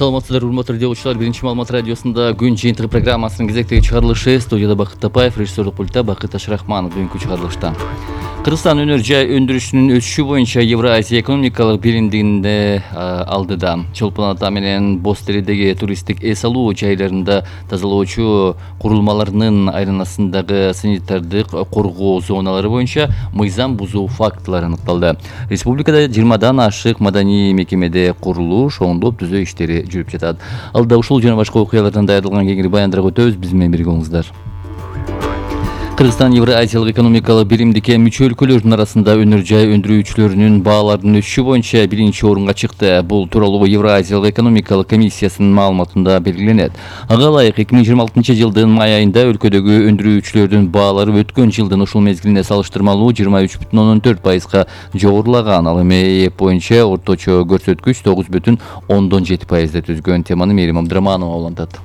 Саламатсыздар, урматтуу радиочулар. Биринчи маалымат радиосунда күн жыйынтыгы программасынын кезектеги чыгарылышы. Студияда Бакыт Тапаев, режиссерлук пультта Бакыт Ашрахманов. Бүгүнкү чыгарылышта Кыргызстан өнөр жай өндүрүшүнүн өсүшү боюнча Евразия экономикалык биримдигинде алдыда. Чолпон Ата менен Боз Теридеги туристтик эс алуу жайларында тазалоочу курулмаларынын айланасындагы санитардык коргоо зоналары боюнча мыйзам бузуу фактылары аныкталды. Республикада 20дан ашык маданий мекемеде курулуш, оңдоп түзөө иштери жүрүп жатат. Алда ушул жана башка окуялардан даярдалган кеңири баяндырып өтөбүз. Биз менен бирге болуңуздар. Кыргызстан Евразиялык экономикалык биримдикке мүчө өлкөлөрдүн арасында өнөр жай өндүрүүчүлөрүнүн бааларынын өсүшү боюнча биринчи орунга чыкты. Бул тууралуу Евразиялык экономикалык комиссиясынын маалыматында белгиленет. Ага ылайык 2026 жылдын май айында өлкөдөгү өндүрүүчүлөрдүн баалары өткөн жылдын ушул мезгилине салыштырмалуу 23,4%га жогорулаган. Ал эми ЭЭП боюнча орточо көрсөткүч 9,7%ды түзгөн. Теманы Мээрим Абдыраманова улантат.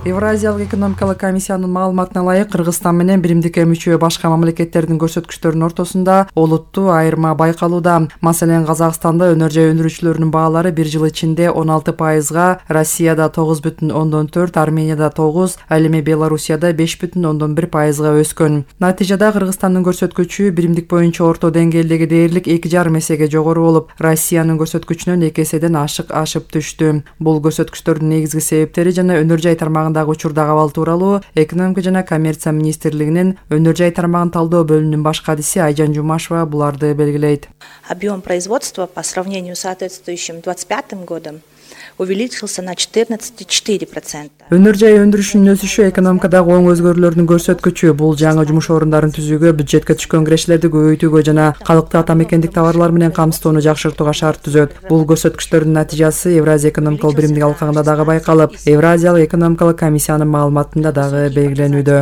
Евразиялык экономикалык комиссиянын маалыматына ылайык Кыргызстан менен биримдикке мүчө башка мамлекеттердин көрсөткүчтөрүнүн ортосунда олуттуу айырма байкалууда. Маселен, Казакстанда өнөр жай өндүрүүчүлөрүнүн баалары бир жыл ичинде 16%, Россияда 9,4%, Арменияда 9%, ал эми Белоруссияда 5,1%га өскөн. Натыйжада Кыргызстандын көрсөткүчү биримдик боюнча орто деңгээлдеги дээрлик 2,5 эсеге жогору болуп, Россиянын көрсөткүчүнөн 2 эседен ашып түштү. Бул көрсөткүчтөрдүн негизги себептери жана өнөр жай тармагындагы учурдагы абал тууралуу Экономика жана коммерция министрлигинин өнөр жай тармагын талдоо бөлүмүнүн баш кадиси Айжан Жумашева буларды белгилейт. Объем производства по сравнению с соответствующим 2025 годом увеличился на 14,4%. Өнөр жай өндүрүшүнүн өсүшү экономикадагы оң өзгөрүүлөрдүн көрсөткүчү. Бул жаңы жумуш орундарын түзүүгө, бюджетке түшкөн кирештерди көбөйтүүгө жана калкты ата мекендик товарлар менен камсыздоону жакшыртууга шарт түзөт. Бул көрсөткүчтөрдүн натыйжасы Евразия экономикалык биримдиги алкагында дагы байкалып, Евразиялык экономикалык комиссиянын маалыматында дагы белгиленүүдө.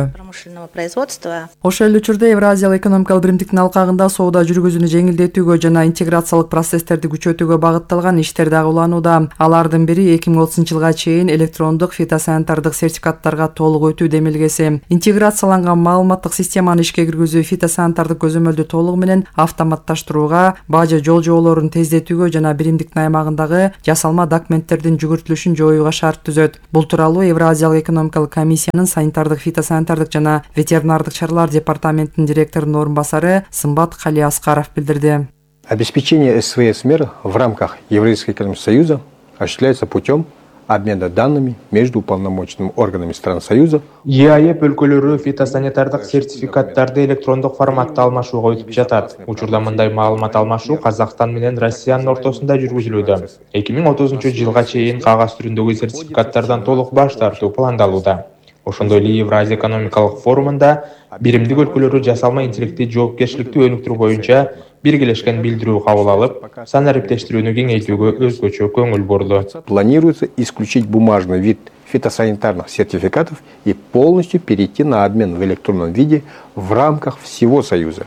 Ошол эле учурда Евразиялык экономикалык биримдиктин алкагында соода жүргүзүүнү жеңилдетүүгө жана интеграциялык процесстерди күчөтүүгө багытталган иштер дагы уланууда. Алардын бири 2030 жылга чейин электрондук фитосанитардык сертификаттарга толук өтүү демилгеси. Интеграцияланган маалыматтык системаны ишке киргизүү фитосанитардык көзөмөлдү толугу менен автоматташтырууга, бажы жол жоолорун тездетүүгө жана биримдиктин аймагындагы жасалма документтердин жүгүртүлүшүн жоюуга шарт түзөт. Бул тууралуу Евразиялык экономикалык комиссиянын санитардык, фитосанитардык жана ветеринардык чаралар департаментинин директорунун орун басары Сымбат Калиаскаров билдирди. Обеспечение СВС мер в рамках Евразийского экономического союза осуществляется путем обмена данными между уполномоченными органами стран Союза. ЕАЭП өлкөлөрү фитосанитардык сертификаттарды электрондук форматта алмашууга өтүп жатат. Учурда мындай маалымат алмашуу Казакстан менен Россиянын ортосунда жүргүзүлүүдө. 2030 жылга чейин кагаз түрүндөгү сертификаттардан толук баш тартуу пландалууда. Ошондой эле Евразия экономикалык форумунда биримдик өлкөлөрү жасалма интеллектти жоопкерчиликтүү өнүктүрүү боюнча биргелешкен билдирүү кабыл алып, санариптештирүүнү кеңейтүүгө өзгөчө көңүл бурду. Планируется исключить бумажный вид фитосанитарных сертификатов и полностью перейти на обмен в электронном виде в рамках всего Союза.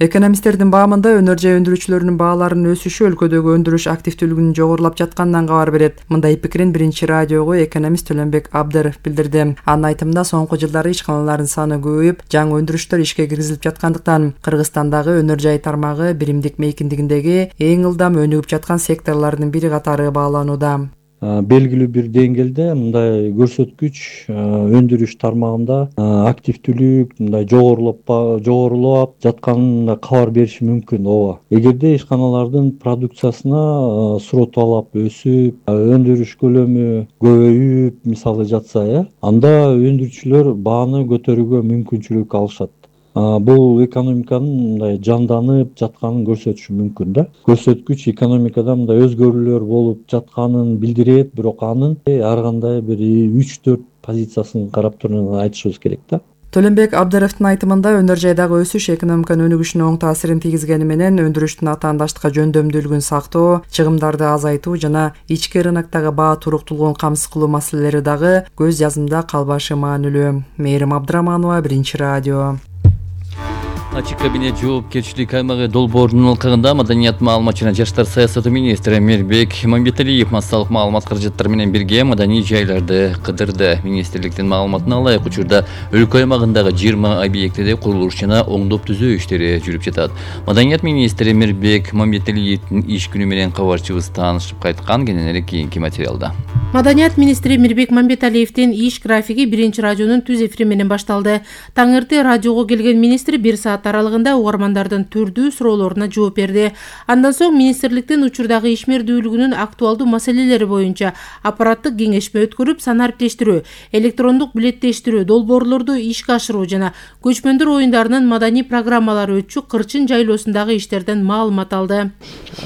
Экономисттердин баамында өнөр жай өндүрүүчүлөрүнүн бааларынын өсүшү өлкөдөгү өндүрүш активдүүлүгүнүн жогорулап жатканынан кабар берет. Мындай пикирин биринчи радиого экономист Төлөнбек Абдыров билдирди. Анын айтымында соңку жылдары ишканалардын саны көбөйүп, жаңы өндүрүштөр ишке киргизилип жаткандыктан Кыргызстандагы өнөр жай тармагы биримдик мейкиндигиндеги эң ылдам өнүгүп жаткан секторлордун бири катары бааланууда. Белгилүү бир деңгээлде мындай көрсөткүч өндүрүш тармагында активдүүлүк мындай жогорулап жатканына кабар бериши мүмкүн. Ооба. Эгерде ишканалардын продукциясына суроо талап өсүп, өндүрүш көлөмү көбөйүп, мисалы жатса, анда өндүрүүчүлөр бааны көтөрүүгө мүмкүнчүлүк алышат. Бул экономиканын мындай жанданып жатканын көрсөтүшү мүмкүн да. Көрсөткүч экономикада мындай өзгөрүүлөр болуп жатканын билдирет, бирок анын ар кандай бир 3-4 позициясын карап туруп айтышыбыз керек да. Төлөнбек Абдыровдун айтымында өнөр жайдагы өсүш экономиканын өнүгүшүнө оң таасирин тийгизгени менен өндүрүштүн атаандаштыкка жөндөмдүүлүгүн сактоо, чыгымдарды азайтуу жана ички рыноктогу баа туруктуулугун камсыз кылуу маселелери дагы көз жазымда калбашы маанилүү. Мээрим Абдыраманова, Биринчи радио. Ачык кабинет жоопкерчилик аймагы долбоорунун алкагында маданият, маалымат жана жаштар саясаты министри Мирбек Мамбеталиев массалык маалымат каражаттары менен бирге маданий жайларды кыдырды. Министрликтин маалыматына ылайык учурда өлкө аймагындагы 20 объектиде курулуш жана оңдоп түзөө иштери жүрүп жатат. Маданият министри Мирбек Мамбеталиевдин иш күнү менен кабарчыбыз таанышып кайткан. Кененирээк кийинки материалда. Маданият министри Мирбек Мамбеталиевдин иш графиги биринчи радионун түз эфири менен башталды. Таң эрте радиого келген министр 1 саат аралыгында угармандардын түрдүү суроолоруна жооп берди. Андан соң министрликтин учурдагы ишмердүүлүгүнүн актуалдуу маселелери боюнча аппараттык кеңешме өткөрүп, санариптештирүү, электрондук билеттештирүү, долбоорлорду ишке ашыруу жана көчмөндөр оюндарынын маданий программалары өтчү Кырчын жайлоосундагы иштерден маалымат алды.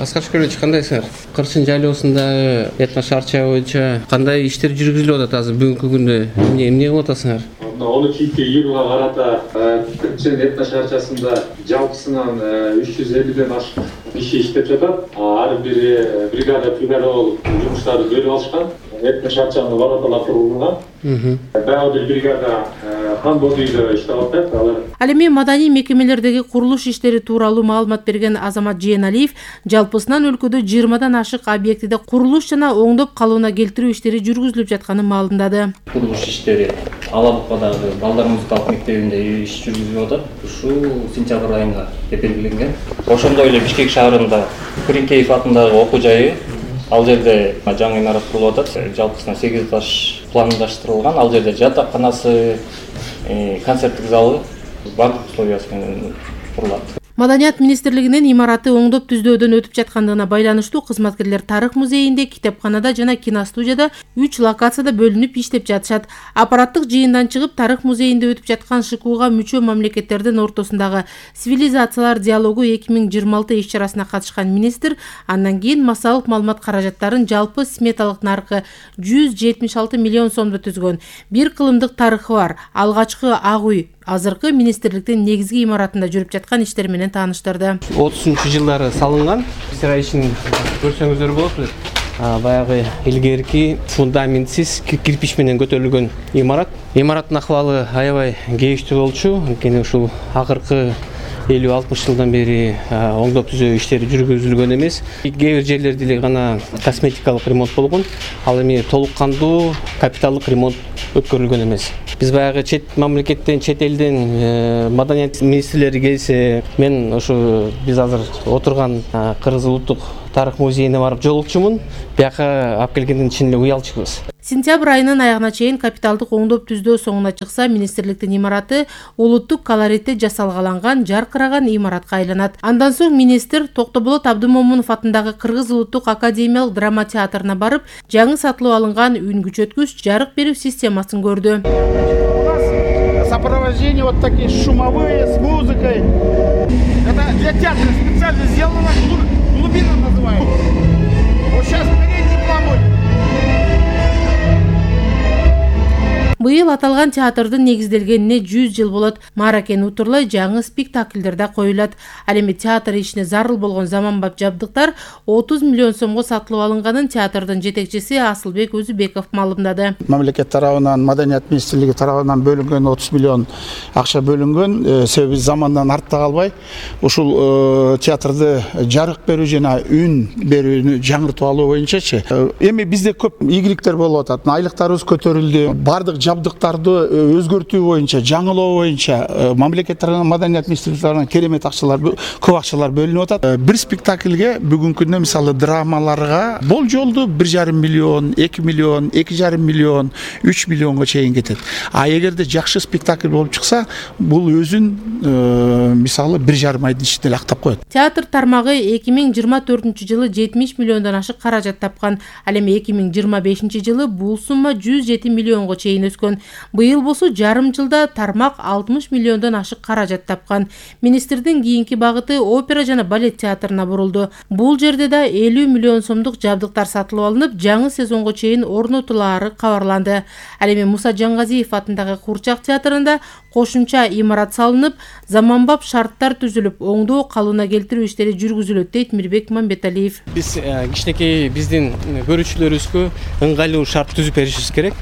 Аскар Шкөлович, кандайсыңар? Кырчын жайлоосундагы этно шаарча боюнча кандай иштер жүргүзүлүп атат азыр бүгүнкү күндө? Эмне кылып атасыңар? 12-июлга карата Кырчын этно шаарчасында жалпысынан 350ден ашык киши иштеп жатат. Ар бир бригада болуп жумуштарды бөлүп алышкан. Этно шаарчанын вараталары тургузулган. Дагы бир бригада Хан Бодуйдо иштеп атат. Ал эми маданий мекемелердеги курулуш иштери тууралуу маалымат берген Азамат Жээналиев жалпысынан өлкөдө 20дан ашык объектиде курулуш жана оңдоп калууна келтирүү иштери жүргүзүлүп жатканын маалымдады. Курулуш иштери Алабукадагы балдар музыкалык мектебинде иш жүргүзүлүп атат. Ушул сентябрь айында белгиленген. Ошондой эле Бишкек шаарында Күрүнкеев атындагы окуу жайы, ал жерде жаңы имарат курулуп атат. Жалпысынан 8 этаж пландаштырылган. Ал жерде жатаканасы, концерттик залы бардык условиясы менен курулат. Маданият министрлигинин имараты оңдоп түздөөдөн өтүп жаткандыгына байланыштуу кызматкерлер Тарых музейинде, китепканада жана киностудияда 3 локацияда бөлүнүп иштеп жатышат. Аппараттык жыйындан чыгып Тарых музейинде өтүп жаткан ШКУга мүчө мамлекеттердин ортосундагы цивилизациялар диалогу 2026 иш-чарасына катышкан министр андан кийин массалык маалымат каражаттарын жалпы сметалык наркы 176 миллион сомдо түзгөн бир кылымдык тарыхы бар алгачкы ак үй азыркы министрликтин негизги имаратында жүрүп жаткан иштер менен тааныштырды. 30-жылдары салынган. Ишин көрсөңүздөр болот белет. Баягы илгерки фундаментсиз кирпич менен көтөрүлгөн имарат. Имараттын акыбалы аябай кейиштүү болчу. Анткени ушул акыркы 50-60 жылдан бери оңдоп түзөө иштери жүргүзүлгөн эмес. Кээ бир жерлерде эле гана косметикалык ремонт болгон. Ал эми толук кандуу капиталдык ремонт өткөрүлгөн эмес. Биз баягы чет мамлекеттен, чет элден маданият министрлери келсе, мен ошо биз азыр отурган Кыргыз улуттук тарых музейине барып жолукчумун. Бияка алып келгенден чын эле уялчубуз. Сентябрь айынын аягына чейин капиталдык оңдоп түздөө соңуна чыкса, министрликтин имараты улуттук колоритте жасалгаланган, жаркыраган имаратка айланат. Андан соң министр Токтоболот Абдымомунов атындагы Кыргыз улуттук академиялык драма театрына барып, жаңы сатылып алынган үн күчөткүч жарык берүү системасын көрдү. Сопровождение вот такие шумовые с музыкой. Это для театра специально сделано, глубина называется. Вот сейчас передний план будет. Быйыл аталган театрдын негизделгенине 100 жыл болот. Мааракен утурлай жаңы спектакльдер да коюлат. Ал эми театр ишине зарыл болгон заманбап жабдыктар 30 миллион сомго сатылып алынганын театрдын жетекчиси Асылбек Өзүбеков маалымдады. Мамлекет тарабынан, Маданият министрлиги тарабынан бөлүнгөн 30 миллион акча бөлүнгөн. Себеби замандан артта калбай, ушул театрды жарык берүү жана үн берүүнү жаңыртып алуу боюнчачы. Эми бизде көп ийгиликтер болуп атат. Айлыктарыбыз көтөрүлдү. Бардык жабдыктарды өзгөртүү боюнча, жаңылоо боюнча мамлекет тарабынан, Маданият министрлиги тарабынан керемет акчалар, көп акчалар бөлүнүп атат. Бир спектакльге бүгүнкү күндө мисалы драмаларга болжолду 1,5 миллион, 2 миллион, 2,5 миллион, 3 миллионго чейин кетет. А эгерде жакшы спектакль болуп чыкса, бул өзүн мисалы 1,5 айдын ичинде актап коет. Театр тармагы 2024 жылы 70 миллиондон ашык каражат тапкан. Ал эми 2025 жылы бул сумма 107 миллионго чейин өскөн. Быйыл болсо жарым жылда тармак 60 миллиондон ашык каражат тапкан. Министрдин кийинки багыты опера жана балет театрына бурулду. Бул жерде да 50 миллион сомдук жабдыктар сатылып алынып, жаңы сезонго чейин орнотулаары кабарланды. Ал эми Муса Жаңгазиев атындагы Курчак театрында кошумча имарат салынып, заманбап шарттар түзүлүп, оңдоо калууна келтирүү иштери жүргүзүлөт дейт Мирбек Мамбеталиев. Биз кичинекей биздин көрүүчүлөрүбүзгө ыңгайлуу шарт түзүп беришибиз керек.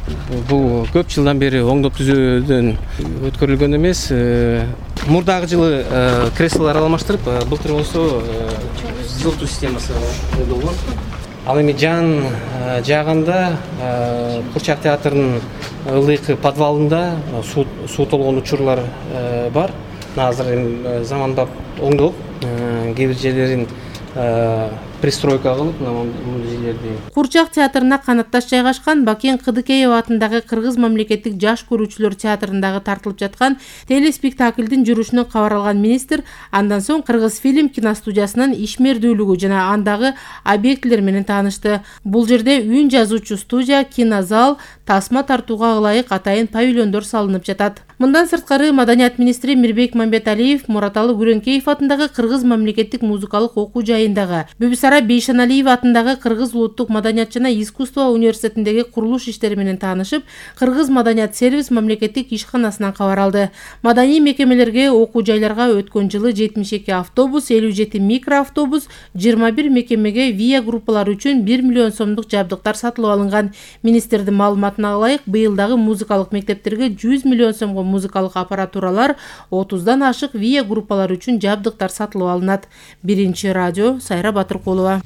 Бул көп жылдан бери оңдоп түзөөдөн өткөрүлгөн эмес. Мурдагы жылы креслолор алмаштырып, былтыр болсо жылытуу системасы болгон. Ал эми жан жагында Курчак театрынын ылдыйкы подвалында суу толгон учурлар бар. Азыр заманбап оңдоп, кээ бир жерлерин пристройка кылып музейлерди. Курчак театрына канатташ жайгашкан Бакен Кыдыкеев атындагы Кыргыз мамлекеттик жаш көрүүчүлөр театрындагы тартылып жаткан телеспектаклдин жүрүшүнөн кабар алган министр андан соң Кыргыз фильм киностудиясынын ишмердүүлүгү жана андагы объектилер менен таанышты. Бул жерде үн жазуучу студия, кинозал, тасма тартууга ылайык атайын павильондор салынып жатат. Мындан сырткары Маданият министри Мирбек Мамбеталиев Мураталы Күрөнкеев атындагы Кыргыз мамлекеттик музыкалык окуу жайындагы, Бүбүсара Бейшаналиева атындагы Кыргыз улуттук маданият жана искусство университетиндеги курулуш иштери менен таанышып, Кыргыз маданият сервис мамлекеттик ишканасынан кабар алды. Маданий мекемелерге, окуу жайларга өткөн жылы 72 автобус, 57 микроавтобус, 21 мекемеге ВИА группалары үчүн 1 миллион сомдук жабдыктар сатылып алынган. Министрдин маалыматына ылайык, быйылдагы музыкалык мектептерге 100 миллион сомго музыкалык аппаратуралар, 30дан ашык ВИА группалары үчүн жабдыктар сатылып алынат. Биринчи радио, Сайра Батыркулова.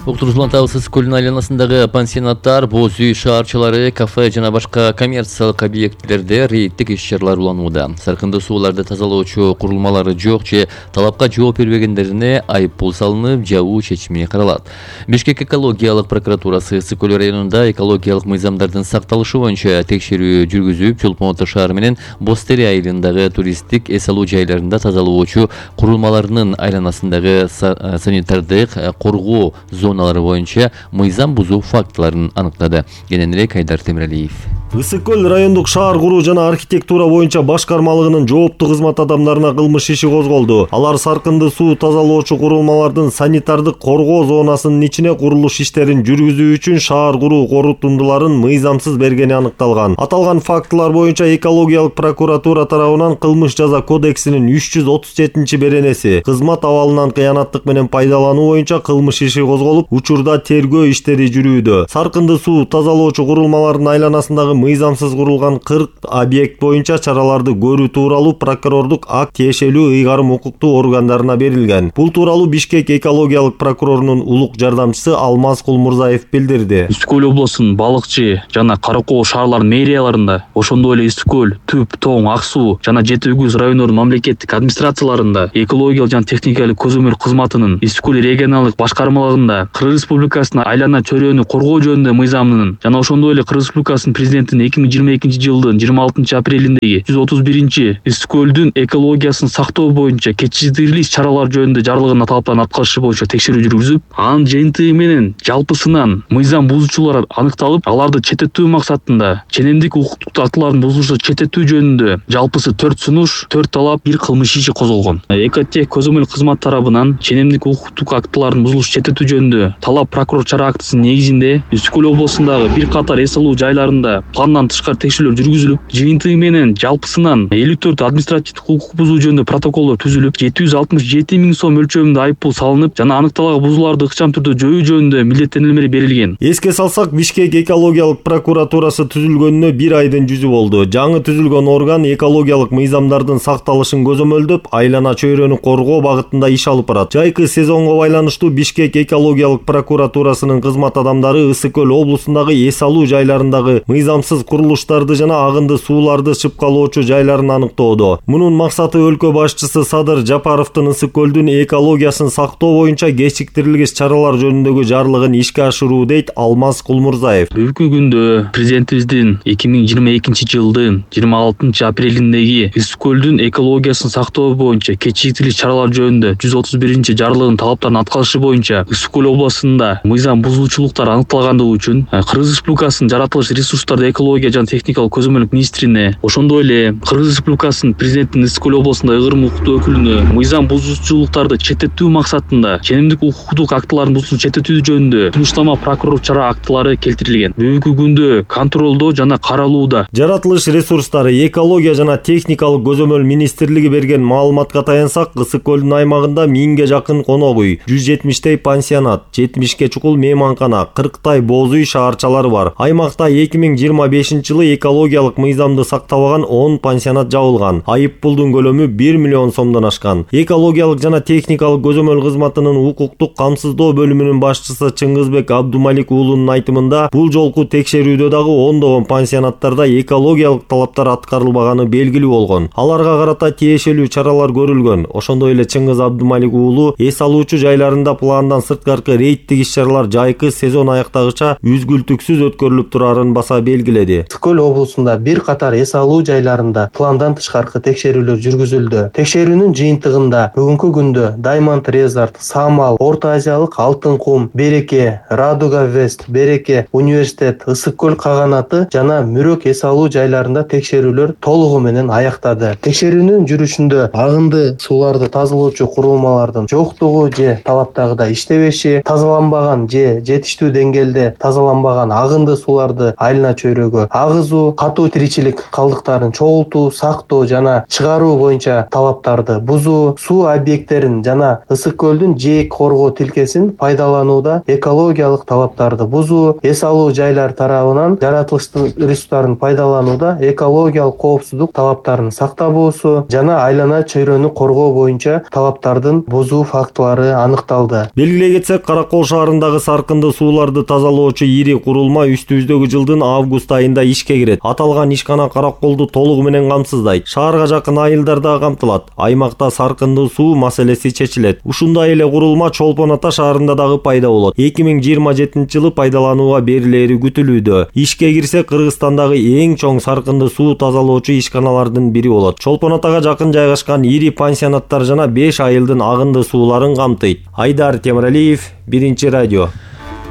Уктурулган Табыс көлүнүн айланасындагы пансионаттар, боз үй, шаарчалары, кафе жана башка коммерциялык объектилерде рейдтик иш-чаралар уланууда. Саркынды сууларды тазалоочу курулмалары жок же талапка жооп бербегендерине айыппул салынып, жабуу чечими каралат. Бишкек экологиялык прокуратурасы Ысык-Көл районунда экологиялык мыйзамдардын сакталышы боюнча текшерүү жүргүзүп, Чолпон-Ата шаары менен Бостере айылындагы туристтик эс алуу жайларында тазалоочу курулмаларынын айланасындагы санитардык коргоо зоналары боюнча мыйзам бузуу фактыларын аныктады. Кененирээк Айдар Темиралиев. Ысык-Көл райондук шаар куруу жана архитектура боюнча башкармалыгынын жооптуу кызмат адамдарына кылмыш иши козголду. Алар саркынды суу тазалоочу курулмалардын санитардык коргоо зонасынын ичине курулуш иштерин жүргүзүү үчүн шаар куруу корутундуларын мыйзамсыз бергени аныкталган. Аталган фактылар боюнча экологиялык прокуратура тарабынан кылмыш жаза кодексинин 337-беренеси кызмат абалынан кыянаттык менен пайдалануу боюнча кылмыш иши козголуп, учурда тергөө иштери жүрүүдө. Саркынды суу тазалоочу курулмалардын айланасындагы мыйзамсыз курулган 40 объект боюнча чараларды көрүү тууралуу прокурордук акт тиешелүү ыйгарым укуктуу органдарына берилген. Бул тууралуу Бишкек экологиялык прокурорунун улук жардамчысы Алмаз Кулмурзаев билдирди. Ысык-Көл облусунун Балыкчы жана Каракоо шаарларынын мэрияларында, ошондой эле Ысык-Көл, Түп, Тоң, Ак суу жана Жети Үгүз райондорунун мамлекеттик администрацияларында, экологиялык жана техникалык көзөмөл кызматынын Ысык-Көл регионалдык башкармалыгында Кыргыз Республикасынын айлана чөйрөнү коргоо жөнүндө мыйзамынын жана ошондой эле Кыргыз Республикасынын президентинин 2022-жылдын 26-апрелиндеги 131 Ысык-Көлдүн экологиясын сактоо боюнча кечиктирилиш чаралар жөнүндө жарлыгына талаптарын аткарышы боюнча текшерүү жүргүзүп, анын жыйынтыгы менен жалпысынан мыйзам бузуучулар аныкталып, аларды четтетүү максатында ченемдик укуктук актылардын бузулушу четтетүү жөнүндө жалпысы 4 сунуш, 4 талап, 1 кылмыш иши козголгон. Экотех көзөмөл кызмат тарабынан ченемдик укуктук актылардын бузулушу четтетүү жөнүндө талап прокурор чара актысынын негизинде Ысык-Көл облусундагы бир катар эс алуу жайларында пландан тышкары текшерүүлөр жүргүзүлүп, жыйынтыгы менен жалпысынан 54 административдик укук бузуу жөнүндө протоколдор түзүлүп, 767 000 сом мөлчөрүндө айыппул салынып, жана аныкталган бузууларды ыкчам түрдө жоюу жөнүндө милдеттенмелер берилген. Эске салсак, Бишкек экологиялык прокуратурасы түзүлгөнүнө 1 айдын жүзү болду. Жаңы түзүлгөн орган экологиялык мыйзамдардын сакталышын көзөмөлдөп, айлана чөйрөнү коргоо багытында иш алып барат. Жайкы сезонго байланыштуу Бишкек экологиялык прокуратурасынын кызмат адамдары Ысык-Көл облусундагы эс алуу жайларындагы мыйзамсыз курулуштарды жана агынды сууларды чыпкалоочу жайларын аныктоодо. Мунун максаты өлкө башчысы Садыр Жапаровдун Ысык-Көлдүн экологиясын сактоо боюнча кечиктирилгис чаралар жөнүндөгү жарлыгын ишке ашыруу, дейт Алмаз Кулмурзаев. Бүгүнкү күндө президентибиздин 2022-жылдын 26-апрелиндеги Ысык-Көлдүн экологиясын сактоо боюнча кечиктирилгис чаралар жөнүндө 131 жарлыгынын талаптарын аткарышы боюнча Ысык-Көл облусунда мыйзам бузуучулуктар аныкталгандыгы үчүн Кыргыз Республикасынын жаратылыш ресурстарды экология жана техникалык көзөмөлдүк министрине, ошондой эле Кыргыз Республикасынын президентинин Ысык-Көл облусунда ыйгарым укуктуу өкүлүнө мыйзам бузуучулуктарды четтетүү максатында ченемдик укуктук актылардын бузуусун четтетүү жөнүндө сунуштама прокурор чара актылары келтирилген. Бүгүнкү күндө контролдоо жана каралууда. Жаратылыш ресурстары, экология жана техникалык көзөмөл министрлиги берген маалыматка таянсак, Ысык-Көлдүн аймагында 1000ге жакын конок үй, 170 пансионат, 70 чукул мейманкана, 40 боз үй шаарчалары бар. Аймакта 2025-жылы экологиялык мыйзамды сактабаган 10 пансионат жабылган. Айыппулдун көлөмү 1 миллион сомдон ашкан. Экологиялык жана техникалык көзөмөл кызматынын укуктук камсыздоо бөлүмүнүн башчысы Чыңгызбек Абдумалик уулунун айтымында, бул жолку текшерүүдө өңүрдөгү ондогон пансионаттарда экологиялык талаптар аткарылбаганы белгилүү болгон. Аларга карата тиешелүү чаралар көрүлгөн. Ошондой эле Чыңгыз Абдымалик уулу эс алуучу жайларында пландан сырткаркы рейдтик иш-чаралар жайкы сезон аяктагыча үзгүлтүксүз өткөрүлүп турарын баса белгиледи. Ысык көл облусунда бир катар эс алуу жайларында пландан тышкаркы текшерүүлөр жүргүзүлдү. Текшерүүнүн жыйынтыгында бүгүнкү күндө Даймонд Резорт, Самал, Орто Азиялык Алтын кум, Береке, Радуга Вест, Береке, Университет, Ысык көл каганаты жана Мүрөк эс алуу жайларында текшерүүлөр толугу менен аяктады. Текшерүүнүн жүрүшүндө агынды сууларды тазалоочу курулмалардын жоктугу же талаптагыдай иштебеши, тазаланбаган же жетиштүү деңгээлде тазаланбаган агынды сууларды айылына чөйрөгө агызуу, катуу тиричилик калдыктарын чогултуу, сактоо жана чыгаруу боюнча талаптарды бузуу, суу объекттерин жана Ысык көлдүн жээк коргоо тилкесин пайдаланууда экологиялык талаптарды бузуу, эс алуу жайлар тарабынан жаратылыштын ресурстарын пайдаланууда экологиялык коопсуздук талаптарын сактабоосу жана айлана чөйрөнү коргоо боюнча талаптардын бузуу фактылары аныкталды. Белгилей кетсек, Каракол шаарындагы саркынды сууларды тазалоочу ири курулма үстүбүздөгү жылдын август айында ишке кирет. Аталган ишкана Караколду толугу менен камсыздайт. Шаарга жакын айылдар да камтылат. Аймакта саркынды суу маселеси чечилет. Ушундай эле курулма Чолпон Ата шаарында дагы пайда болот. 2027-жылы пайдаланууга берилери күтүлүүдө. Ишке кирсе Кыргызстандагы эң чоң саркынды суу тазалоочу ишканалардын бири болот. Чолпон Атага жакын жайгашкан ири пансионаттар жана 5 айылдын агынды сууларын камтыйт. Айдар Темиралиев, Биринчи радио.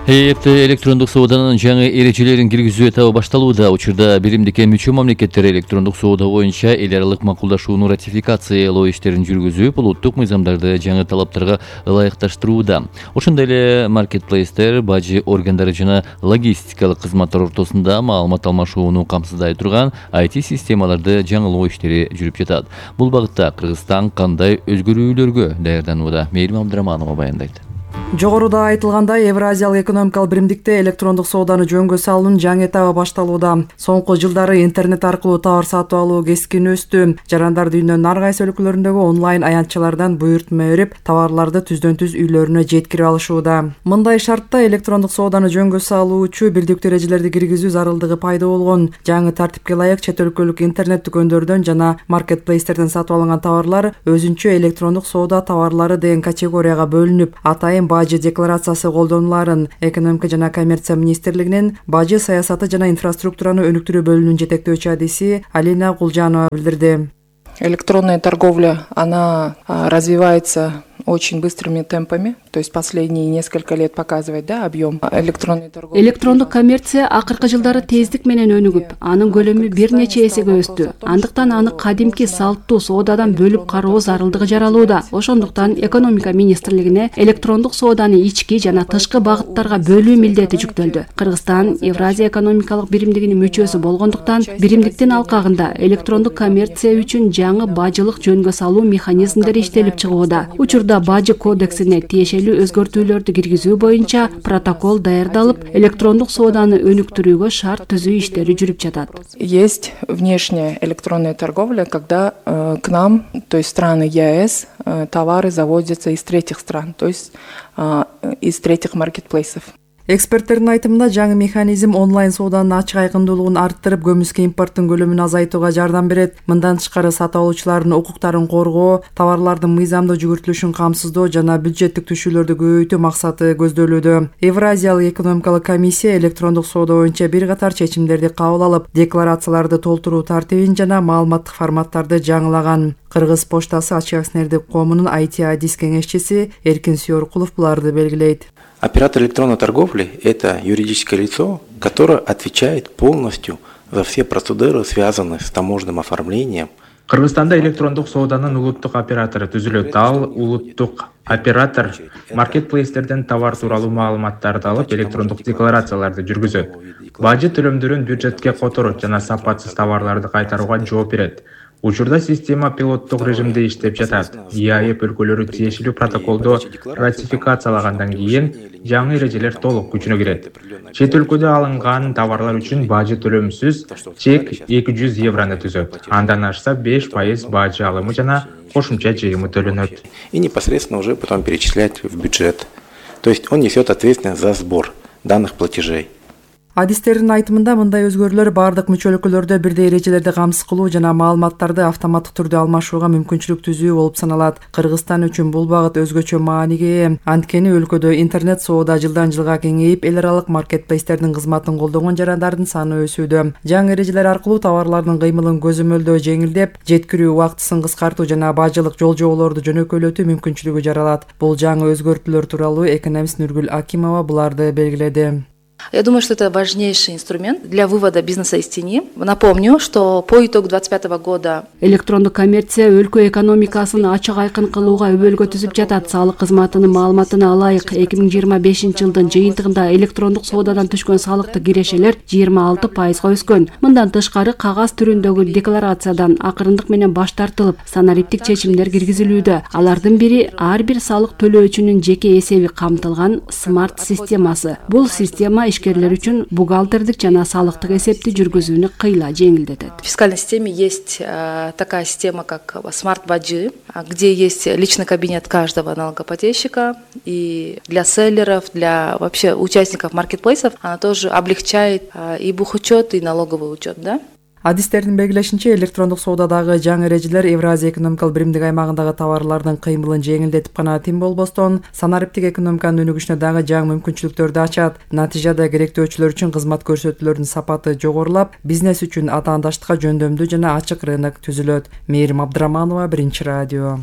Электрондук сооданын жаңы эрежелерин киргизүү этабы башталууда. Учурда биримдикке мүчө мамлекеттер электрондук соода боюнча эл аралык макулдашууну ратификациялоо иштерин жүргүзүп, улуттук мыйзамдарды жаңы талаптарга ылайыкташтырууда. Ошондой эле маркетплейстер, бажы органдары жана логистикалык кызматтар ортосунда маалымат алмашууну камсыздай турган IT системаларды жаңылоо иштери жүрүп жатат. Бул багытта Кыргызстан кандай өзгөрүүлөргө даярданууда? Мээрим Абдыраманова баяндайт. Жогоруда айтылгандай, Евразиялык экономикалык биримдикте электрондук сооданы жөнгө салуунун жаңы этабы башталууда. Соңку жылдары интернет аркылуу товар сатып алуу кескин өстү. Жарандар дүйнөнүн ар кайсы өлкөлөрүндөгү онлайн аянтчалардан буйртма берип, товарларды түздөн-түз үйлөрүнө жеткирип алышууда. Мындай шартта электрондук сооданы жөнгө салуучу бирдиктүү эрежелерди киргизүү зарылдыгы пайда болгон. Жаңы тартипке ылайык чет өлкөлүк интернет дүкөндөрдөн жана маркетплейстерден сатып алынган товарлар өзүнчө электрондук соода товарлары деген категорияга бөлүнүп, атайын бажы декларациясы колдонуларын экономика жана коммерция министрлигинин бажы саясаты жана инфраструктураны өнүктүрүү бөлүмүнүн жетектөөчү адиси Алина Кулжанова билдирди. Электронная торговля, она развивается очень быстрыми темпами, то есть последние несколько лет показывает, объем электронной торговли. Электрондук коммерция акыркы жылдары тездик менен өнүгүп, анын көлөмү бир нече эсеге өстү. Андыктан аны кадимки салттуу соодадан бөлүп кароо зарылдыгы жаралууда. Ошондуктан экономика министрлигине электрондук сооданы ички жана тышкы багыттарга бөлүү милдети жүктөлдү. Кыргызстан Евразия экономикалык биримдигинин мүчөсү болгондуктан, биримдиктин алкагында электрондук коммерция үчүн жаңы бажылык жөнгө салуу механизмдери иштелип чыгууда. Учурда бажы кодексине тиешелүү өзгөртүүлөрдү киргизүү боюнча протокол даярдалып, электрондук сооданы өнүктүрүүгө шарт түзүү иштери жүрүп жатат. Есть внешняя электронная торговля, когда к нам, то есть страны ЕАЭС, товары завозятся из третьих стран, то есть из третьих маркетплейсов. Эксперттердин айтымында жаңы механизм онлайн сооданын ачык айкындуулугун арттырып, көмүскө импорттун көлөмүн азайтууга жардам берет. Мындан тышкары сатып алуучулардын укуктарын коргоо, товарлардын мыйзамдуу жүгүртүлүшүн камсыздоо жана бюджеттик түшүүлөрдү көбөйтүү максаты көздөлүүдө. Евразиялык экономикалык комиссия электрондук соода боюнча бир катар чечимдерди кабыл алып, декларацияларды толтуруу тартибин жана маалыматтык форматтарды жаңылаган. Кыргыз поштасы ачык акционердик коомунун IT адис кеңешчиси Эркин Сүйөркулов буларды белгилейт. Оператор электронной торговли – это юридическое лицо, которое отвечает полностью за все процедуры, связанные с таможенным оформлением. Кыргызстанда электрондук сооданын улуттук оператору түзүлөт. Ал улуттук оператор маркетплейстерден товар тууралуу маалыматтарды алып, электрондук декларацияларды жүргүзөт. Бажы төлөмдөрүн бюджетке которот жана сапатсыз товарларды кайтарууга жооп берет. Учурда система пилоттук режимде иштеп жатат. ЕАЭП өлкөлөрү тиешелүү протоколду ратификациялагандан кийин жаңы эрежелер толук күчүнө кирет. Чет өлкөдө алынган товарлар үчүн бажы төлөмсүз чек 200 евроны түзөт. Андан ашса 5% бажы алымы жана кошумча жыйымы төлөнөт. И непосредственно уже потом перечислять в бюджет. То есть он несет ответственность за сбор данных платежей. Адистердин айтымында мындай өзгөрүүлөр бардык мүчө өлкөлөрдө бирдей эрежелерди камсыз кылуу жана маалыматтарды автоматтык түрдө алмашууга мүмкүнчүлүк түзүү болуп саналат. Кыргызстан үчүн бул багыт өзгөчө мааниге ээ. Анткени өлкөдө интернет соода жылдан жылга кеңейип, эл аралык маркетплейстердин кызматын колдогон жарандардын саны өсүүдө. Жаңы эрежелер аркылуу товарлардын кыймылын көзөмөлдөө жеңилдеп, жеткирүү убактысын кыскартуу жана бажылык жол жоболорду жөнөкөйлөтүү мүмкүнчүлүгү жаралат. Бул жаңы өзгөртүүлөр тууралуу экономист Нургүл Акимова буларды белгиледи. Я думаю, что это важнейший инструмент для вывода бизнеса из тени. Напомню, что по итогу 2025 года электрондук коммерция өлкө экономикасын ачык айкын кылууга өбөлгө түзүп жатат. Салык кызматынын маалыматына алайык, 2025 жылдын жыйынтыгында электрондук соодадан түшкөн салыктык кирешелер 26%га өскөн. Мындан тышкары кагаз түрүндөгү декларациядан акырындык менен баш тартылып, санариптик чечимдер киргизилүүдө. Алардын бири ар бир салык төлөөчүнүн жеке эсеби камтылган смарт системасы. Бул система ишкерлер үчүн бухгалтердик жана салыктык эсепти жүргүзүүнү кыйла жеңилдетет. В фискальной системе есть такая система, как смарт-баджи, где есть личный кабинет каждого налогоплательщика, и для селлеров, для вообще участников маркетплейсов она тоже облегчает и бухучет, и налоговый учет, да? Адистердин белгилешинче, электрондук соодадагы жаңы эрежелер Евразия экономикалык биримдик аймагындагы товарлардын кыймылын жеңилдетип гана тим болбостон, санариптик экономиканын өнүгүшүнө дагы жаңы мүмкүнчүлүктөрдү ачат. Натыйжада керектөөчүлөр үчүн кызмат көрсөтүүлөрдүн сапаты жогорулап, бизнес үчүн атаандаштыкка жөндөмдүү жана ачык рынок түзүлөт. Мээрим Абдыраманова, Биринчи радио.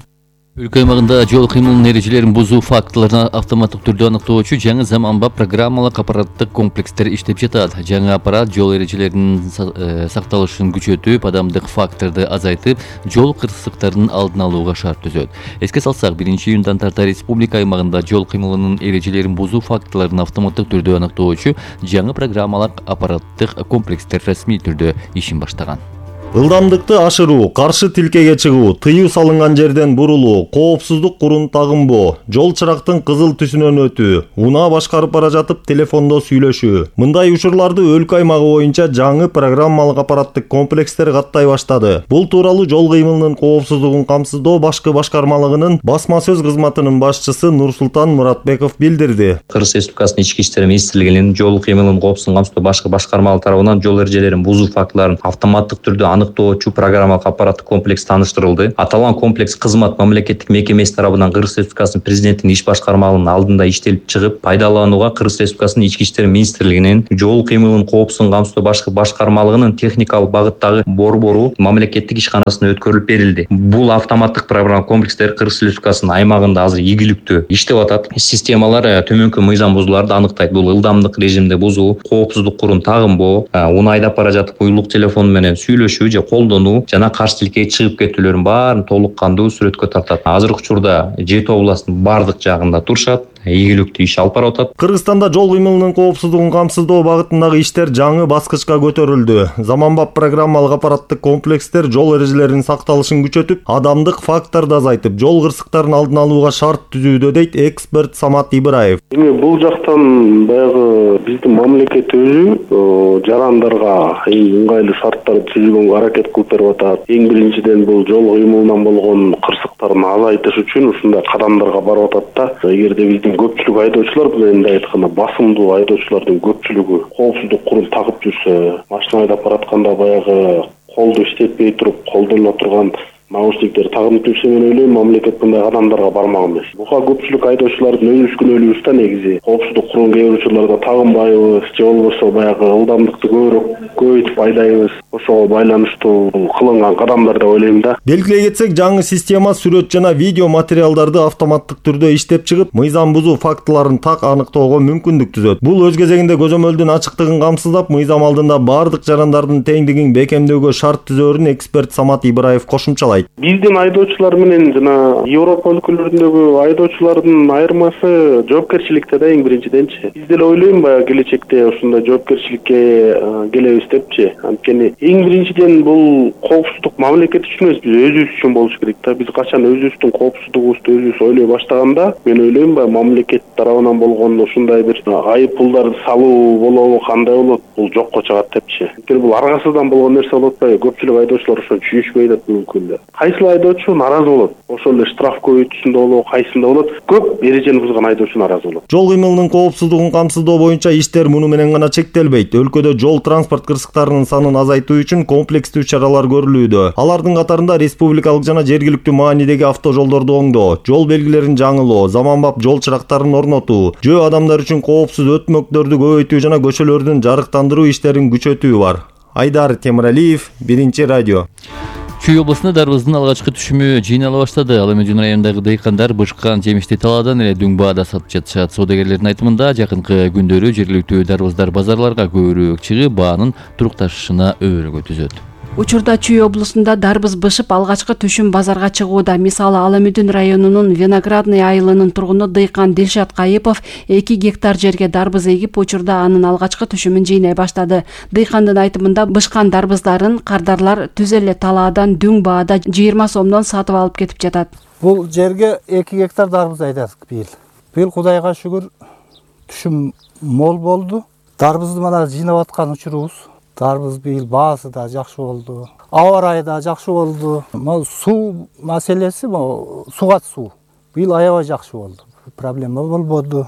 Өлкө аймагында жол кыймылынын эрежелерин бузуу фактыларын автоматтык түрдө аныктоочу жаңы заманбап программалык аппараттык комплекстер иштеп жатат. Жаңы аппарат жол эрежелеринин сакталышын күчөтүп, адамдык факторду азайтып, жол кырсыктарын алдын алууга шарт түзөт. Эске салсак, 1-июндан тарта республика аймагында жол кыймылынын эрежелерин бузуу фактыларын автоматтык түрдө аныктоочу жаңы программалык аппараттык комплекстер расмий түрдө ишин баштаган. Ылдамдыкты ашыруу, каршы тилкеге чыгуу, тыюу салынган жерден бурулуу, коопсуздук курун тагынбоо, жол чырактын кызыл түсүнөн өтүү, унаа башкарып бара жатып телефондо сүйлөшүү. Мындай учурларды өлкө аймагы боюнча жаңы программалык аппараттык комплекстер каттай баштады. Бул тууралуу жол кыймылынын коопсуздугун камсыздоо башкы башкармалыгынын басма сөз кызматынын башчысы Нурсултан Муратбеков билдирди. Кыргыз Республикасынын ички иштер министрлигинин жол кыймылынын коопсуздугун камсыздоо башкы башкармалык тарабынан жол эрежелерин бузуу фактыларын автоматтык түрдө аныктоочу программалык аппараттык комплекс тааныштырылды. Аталган комплекс кызмат мамлекеттик мекемеси тарабынан Кыргыз Республикасынын президентинин иш башкармалыгынын алдында иштелип чыгып, пайдаланууга Кыргыз Республикасынын ички иштер министрлигинин жол кыймылынын коопсуздугун камсыздоо башкы башкармалыгынын техникалык багыттагы борбору мамлекеттик ишканасына өткөрүлүп берилди. Бул автоматтык программалык комплекстер Кыргыз Республикасынын аймагында азыр ийгиликтүү иштеп атат. Системалар төмөнкү мыйзам бузууларды аныктайт. Бул ылдамдык режимде бузуу, коопсуздук курун тагынбоо, унаа айдап бара жатып уюлук телефон менен сүйлөшүү же колдонуу жана каршы тилкеге чыгып кетүүлөрүн баарын толук кандуу сүрөткө тартат. Азыркы учурда Жети областынын бардык жагында турушат, ийгиликтүү иш алып барып атат. Кыргызстанда жол кыймылынын коопсуздугун камсыздоо багытындагы иштер жаңы баскычка көтөрүлдү. Заманбап программалык аппараттык комплекстер жол эрежелеринин сакталышын күчөтүп, адамдык фактарды азайтып, жол кырсыктарын алдын алууга шарт түзүүдө, дейт эксперт Самат Ибраев. Бул жактан баягы биздин мамлекет өзү жарандарга ыңгайлуу шарттарды түзүүгө аракет кылып берип атат. Эң биринчиден бул жол кыймылынан болгон кырсыктарын азайтыш үчүн ушундай кадамдарга барып атат да. Эгерде биздин көпчүлүк айдоочулар, бул эми айтканда басымдуу айдоочулардын көпчүлүгү коопсуздук курун тагып жүрсө, машина айдап баратканда баягы колду иштетпей туруп колдонула турган наушниктер тагынып жүрсө, мен ойлойм мамлекет мындай кадамдарга бармак эмес. Буга көпчүлүк айдоочулардын өнүгүшкүнөлүгүбүз да негизи коопсуздук курун кээ бир учурларда тагынбайбыз, же болбосо баягы ылдамдыкты көбөйтүп айдайбыз. Ошого байланыштуу кылынган кадамдар деп ойлойм да. Белгилей кетсек, жаңы система сүрөт жана видео материалдарды автоматтык түрдө иштеп чыгып, мыйзам бузуу фактыларын так аныктоого мүмкүндүк түзөт. Бул өз кезегинде көзөмөлдүн ачыктыгын камсыздап, мыйзам алдында бардык жарандардын теңдигин бекемдөөгө шарт түзөөрүн эксперт Самат Ибраев кошумчалайт. Биздин айдоочулар менен жана Европа өлкөлөрүндөгү айдоочулардын айырмасы жоопкерчиликте да, эң биринчиденчи. Биз деле ойлойм баягы келечекте ушундай жоопкерчиликке келебиз депчи. Анткени эң биринчиден бул коопсуздук мамлекет үчүн эмес, биз өзүбүз үчүн болуш керек да. Биз качан өзүбүздүн коопсуздугубузду өзүбүз ойлой баштаганда, мен ойлойм баягы мамлекет тарабынан болгон ушундай бир айып пулдарды салуу болобу, кандай болот, бул жокко чыгат депчи. Анткени бул аргасыздан болгон нерсе болуп атпайбы? Көпчүлүк айдоочулар ошону түшүнүшпөй атат бүгүнкү күндө. Кайсыл айдоочу наразы болот? Ошол эле штраф көбөйтүүсүндө болобу, кайсында болот? Көп эрежени бузган айдоочу наразы болот. Жол кыймылынын коопсуздугун камсыздоо боюнча иштер муну менен гана чектелбейт. Өлкөдө жол транспорт кырсыктарынын санын азайтуу үчүн комплекстүү чаралар көрүлүүдө. Алардын катарында республикалык жана жергиликтүү маанидеги автожолдорду оңдоо, жол белгилерин жаңылоо, заманбап жол чырактарын орнотуу, жөө адамдар үчүн коопсуз өтмөктөрдү көбөйтүү жана көчөлөрдүн жарыктандыруу иштерин күчөтүү бар. Айдар Темиралиев, 1-радио. Чүй областында дарбыздын алгачкы түшүмү жыйнала баштады. Ал эми районундагы дыйкандар бышкан жемишти талаадан эле дөң баада сатып жатышат. Соодагерлердин айтымында жакынкы күндөрү жергиликтүү дарбыздар базарларга көбүрөөк чыгып, баанын турукташышына өбөлгө түзөт. Учурда Чүй облусунда дарбыз бышып алгачкы түшүм базарга чыгууда. Мисалы Ала Мүдүн районунун Виноградный айылынын тургуну дыйкан Дилшат Кайыпов 2 гектар жерге дарбыз эгип, учурда анын алгачкы түшүмүн жыйнай баштады. Дыйкандын айтымында бышкан дарбыздарын кардарлар түз эле талаадан дөң баада 20 сомдон сатып алып кетип жатат. Бул жерге 2 гектар дарбыз айдадык быйыл. Быйыл Кудайга шүгүр түшүм мол болду. Дарбызды мана жыйнап аткан учурубуз. Дарбыз быйыл баасы да жакшы болду. Аба ырайы да жакшы болду. Суу маселеси, сугат суу. Быйыл аябай жакшы болду. Проблема болбоду.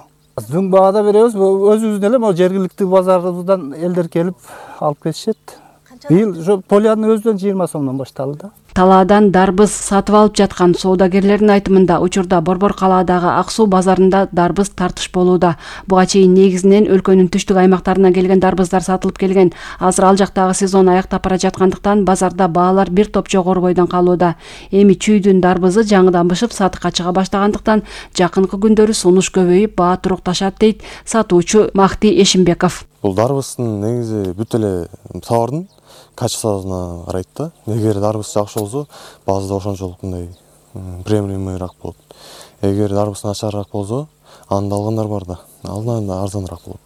Дөң баада беребиз, өзүбүздүн эле жергиликтүү базарыбыздан элдер келип алып кетишет. Быйыл полянын өзүнөн 20 сомдон башталды. Талаадан дарбыз сатып алып жаткан соодагерлердин айтымында учурда Борбор калаадагы Ак суу базарында дарбыз тартыш болууда. Буга чейин негизинен өлкөнүн түштүк аймактарынан келген дарбыздар сатылып келген. Азыр ал жактагы сезон аяктап бара жаткандыктан базарда баалар бир топ жогору бойдон калууда. Эми Чүйдүн дарбызы жаңыдан бышып сатыкка чыга баштагандыктан жакынкы күндөрү сунуш көбөйүп, баа турукташат дейт сатуучу Махти Эшимбеков. Бул дарбыздын негизи бүт эле товардын качествосуна карайт да. Эгер дарбыз жакшы болсо, баазда ошончолук мындай приемлемыйраак болот. Эгер дарбыз начарыраак болсо, аны алгандар бар да. Алдан арзаныраак болот.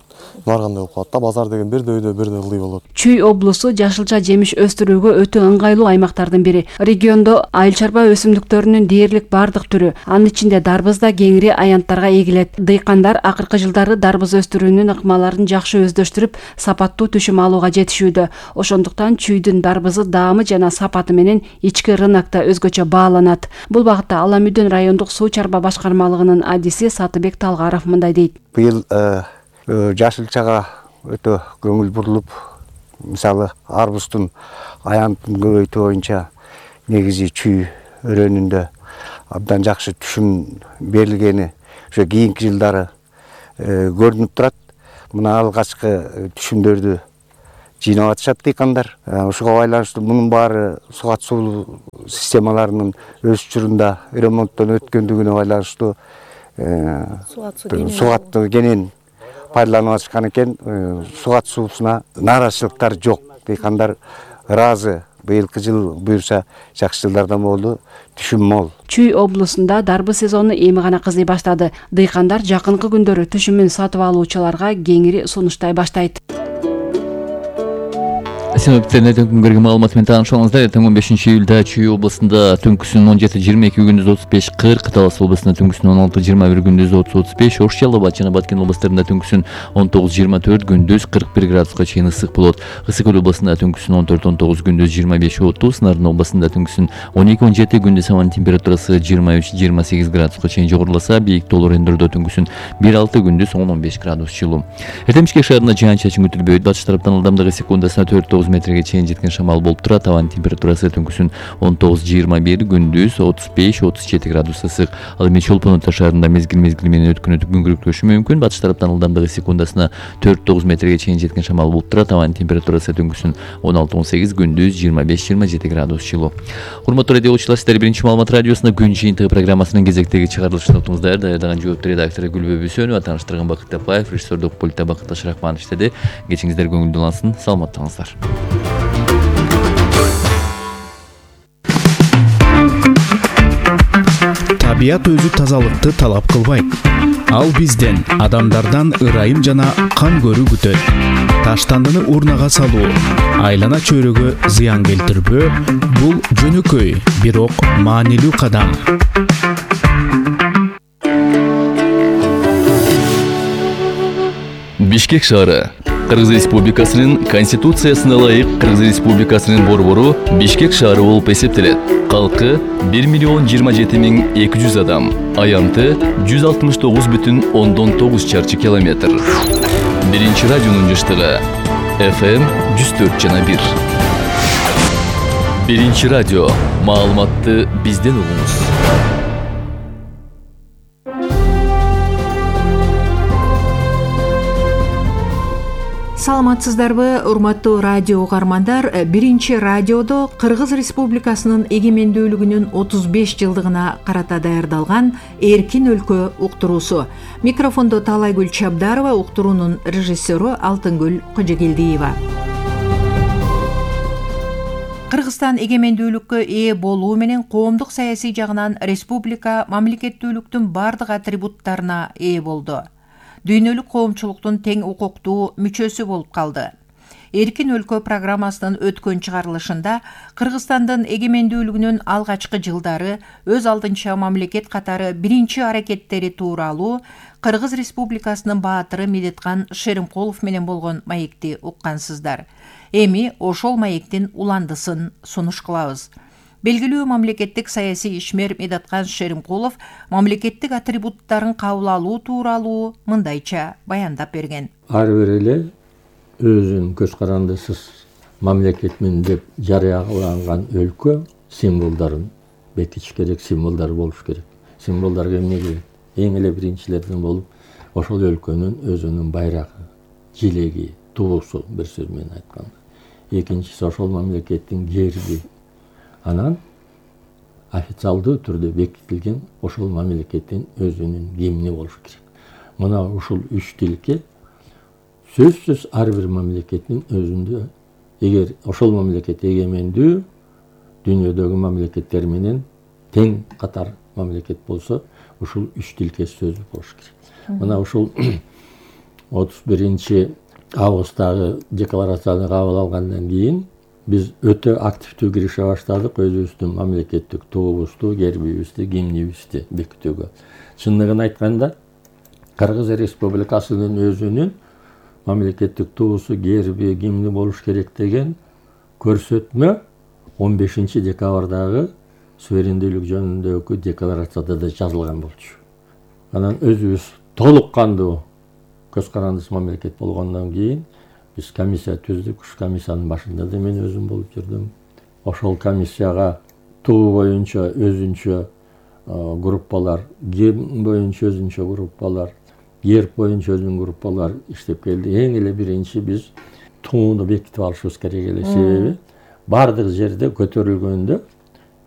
Баргандай болуп калат да, базар деген бирде үйдө бирде ылдый болот. Чүй облусу жашылча жемиш өстүрүүгө өтө ыңгайлуу аймактардын бири. Региондо айыл чарба өсүмдүктөрүнүн дээрлик бардык түрү, анын ичинде дарбыз да кеңири аянттарга эгилет. Дыйкандар акыркы жылдары дарбыз өстүрүүнүн ыкмаларын жакшы өздөштүрүп, сапаттуу түшүм алууга жетишүүдө. Ошондуктан Чүйдүн дарбызы даамы жана сапаты менен ички рынокто өзгөчө бааланат. Бул багытта Ала Мүдүн райондук суу чарба башкармалыгынын адиси Сатыбек Талгаров мындай дейт. Быйыл жашылчага өтө көңүл бурулуп, мисалы арбуздун аянтын көбөйтүү боюнча негизи Чүй өрөөнүндө абдан жакшы түшүм берилгени ошо кийинки жылдары көрүнүп турат. Мына алгачкы түшүмдөрдү жыйнап атышат дыйкандар. Ошого байланыштуу мунун баары сугат суу системаларынын өз учурунда ремонттон өткөндүгүнө байланыштуу сугатты кенен пайдаланып атышкан экен. Сугат суусуна нааразычылыктар жок. Дыйкандар ыраазы. Быйылкы жыл буюрса жакшы жылдардан болду, түшүм мол. Чүй облусунда дарбыз сезону эми гана кызый баштады. Дыйкандар жакынкы күндөрү түшүмүн сатып алуучуларга кеңири сунуштай баштайт. Синоптиктерден күнгөргө маалымат менен таанышыңыздар. 15 июлда Чүй областында түнкүсүн 17-22 күндүз 35-40, Талас областында түнкүсүн 16-21 күндүз 30-35, Ош, Жалал-Абад жана Баткен областарында түнкүсүн 19-24 күндүз 41 градуска чейин ысык болот. Ысык Көл областында түнкүсүн 14-19 күндүз 25-30, Нарын областында түнкүсүн 12-17 күндүз абанын температурасы 23-28 градуска чейин жогоруласа, бийик тоолуу райондордо түнкүсүн 1-6 күндүз 10-15 градус жылуу. Эртең Бишкек шаарында жаан-чачын күтүлбөйт. Батыш тараптан ылдамдыгы секундасына 4-9 метрге чейин жеткен шамал болуп турат. Абанын температурасы түнкүсүн 19-21, күндүз 35-37 градус ысык. Ал эми Чолпон Ата шаарында мезгил менен өткөн күңгүрөктөшү мүмкүн. Батыш тараптан ылдамдыгы секундасына 4-9 метрге чейин жеткен шамал болуп турат. Абанын температурасы түнкүсүн 16-18, күндүз 25-27 градус жылуу. Урматтуу радиочулар, сиздер биринчи маалымат радиосунда күн жыйынтыгы программасынын кезектеги чыгарылышын уктуңуздар. Даярдаган жоопту редактору Гүлбө Бүсөнова, тааныштырган Бакыт Тапаев, режиссердук пультта Бакыт Ташрахманов иштеди. Кечиңиздер көңүлдүү улансын. Саламаттаңыздар. Табият өзү тазалыкты талап кылбайт. Ал бизден, адамдардан ырайым жана кан көрүү күтөт. Таштандыны урнага салуу, айлана чөйрөгө зыян келтирбөө — бул жөнөкөй, бирок маанилүү кадам. Бишкек шаары Кыргыз Республикасынын Конституциясына ылайык Кыргыз Республикасынын борбору Бишкек шаары болуп эсептелет. Калкы 1.027.200 адам, аянты 169,9 чарчы километр. Биринчи радионун жыштыгы FM 104,1. Биринчи радио. Маалыматты бизден угуңуз. Саламатсыздарбы, урматтуу радио угармандар. Биринчи радиодо Кыргыз Республикасынын эгемендүүлүгүнүн 35 жылдыгына карата даярдалган Эркин өлкө уктуруусу. Микрофондо Талайгүл Чабдарова, уктуруунун режиссеру Алтынгүл Кожогелдиева. Кыргызстан эгемендүүлүккө ээ болуу менен коомдук саясий жагынан республика мамлекеттүүлүктүн бардык атрибуттарына ээ болду. Дүйнөлүк коомчулуктун тең укуктуу мүчөсү болуп калды. Эркин өлкө программасынын өткөн чыгарылышында Кыргызстандын эгемендүүлүгүнүн алгачкы жылдары өз алдынча мамлекет катары биринчи аракеттери тууралуу Кыргыз Республикасынын баатыры Медеткан Шеримкулов менен болгон маекти уккансыздар. Эми ошол маектин уландысын сунуш кылабыз. Белгилүү мамлекеттик саясий ишмер Медеткан Шеримкулов мамлекеттик атрибуттарын кабыл алуу тууралуу мындайча баяндап берген. Ар бир эле өзүнүн көз карандысыз мамлекетмин деп жарыяланган өлкө символдорун бекитиш керек, символдор болуш керек. Символдорго эмне керек? Эң эле биринчилерден болуп ошол өлкөнүн өзүнүн байрагы, жилеги, туусу, бир сөз менен айтканда. Экинчиси ошол мамлекеттин герби. Анан официалдуу түрдө бекитилген ошол мамлекеттин өзүнүн гимни болуш керек. Мына ушул үч тилке сөзсүз ар бир мамлекеттин өзүндө, эгер ошол мамлекет эгемендүү дүйнөдөгү мамлекеттер менен тең катар мамлекет болсо, ушул үч тилке сөзү болуш керек. Мына ушул 31 августтагы декларацияны кабыл алгандан кийин биз өтө активдүү кирише баштадык өзүбүздүн мамлекеттик туубузду, гербибизди, гимнибизди бекитүүгө. Чындыгын айтканда, Кыргыз Республикасынын өзүнүн мамлекеттик туусу, герби, гимни болуш керек деген көрсөтмө 15 декабрдагы суверендүүлүк жөнүндөгү декларацияда да жазылган болчу. Анан өзүбүз толук кандуу көз карандысыз мамлекет болгондон кийин биз комиссия түздүк. Ушу комиссиянын башында да мен өзүм болуп жүрдүм. Ошол комиссияга туу боюнча өзүнчө группалар, гимн боюнча өзүнчө группалар, герб боюнча өзүнүн группалар иштеп келди. Эң эле биринчи биз тууну бекитип алышыбыз керек эле. Себеби бардык жерде көтөрүлгөндө